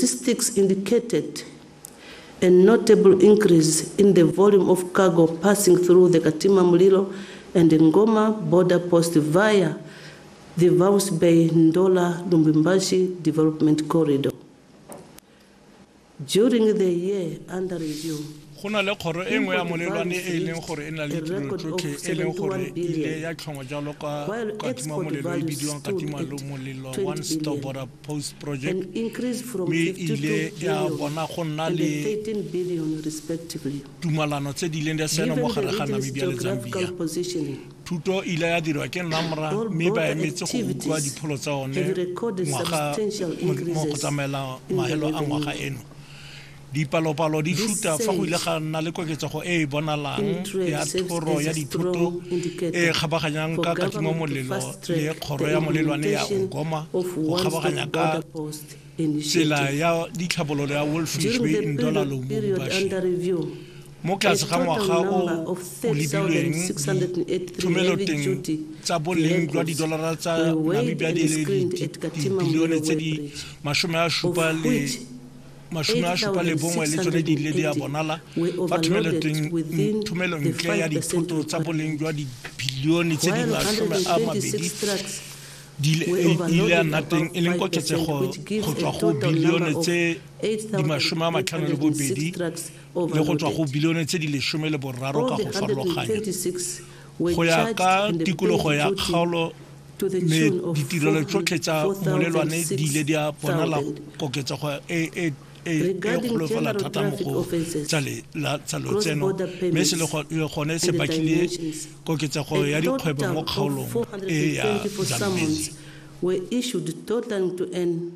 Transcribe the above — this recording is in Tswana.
Statistics indicated a notable increase in the volume of cargo passing through the Katima Mulilo and Ngoma border post via the Walvis Bay Ndola Lubumbashi Development Corridor. During the year under review, Go na le kgoro e nngwe ya molelwane e e leng gore e na le ditirelo tsotlhe e leng gore e ile ya tlhongwa jalo ka Katima Molelo e bidiwang Katima Molelo One Stop Border Post Project, mme e ile ya bona go nna le tumalano tse di ileng di saenwa mo gare ga Namibia le Zambia. Thuto e ile ya dirwa ke NAMRA mme ba emetse go utlwa dipholo tsa one ngwaga mo go tsamaela mahelo a ngwaga eno. Dipalopalo di shuta fa go ile ga nna le koketsego e e bonalang ya thoro ya dithoto e e kgabaganyang ka Katima Molelo le kgoro ya molelwane ya Ngoma go kgabaganya ka tsela ya ditlhabololo ya Wolfish Bay Ndola Lubumbashi. Mo tlase ga ngwaga o o lebilweng, dithomeloteng tsa boleng jwa didolara tsa Namibia di le dibilione tse di 71 le tsone di ile di a bonala fa thomelontle ya dithoto tsa boleng jwa dibilione tse di 20 di ile ya nna teng, e leng koketsego go tswa go bilione tse di 52 le go tswa go bilione tse di 13 ka go farologanya go ya ka tikologo ya kgaolo, mme ditirelo tsotlhe tsa molelwane di ile di a bonala koketsego e e e kgolo fela thata mo go tsa lotseno, mme se le gone se bakile koketsego ya dikgwebo mo kgaolong e ya Zambezi. Were issued totaling to an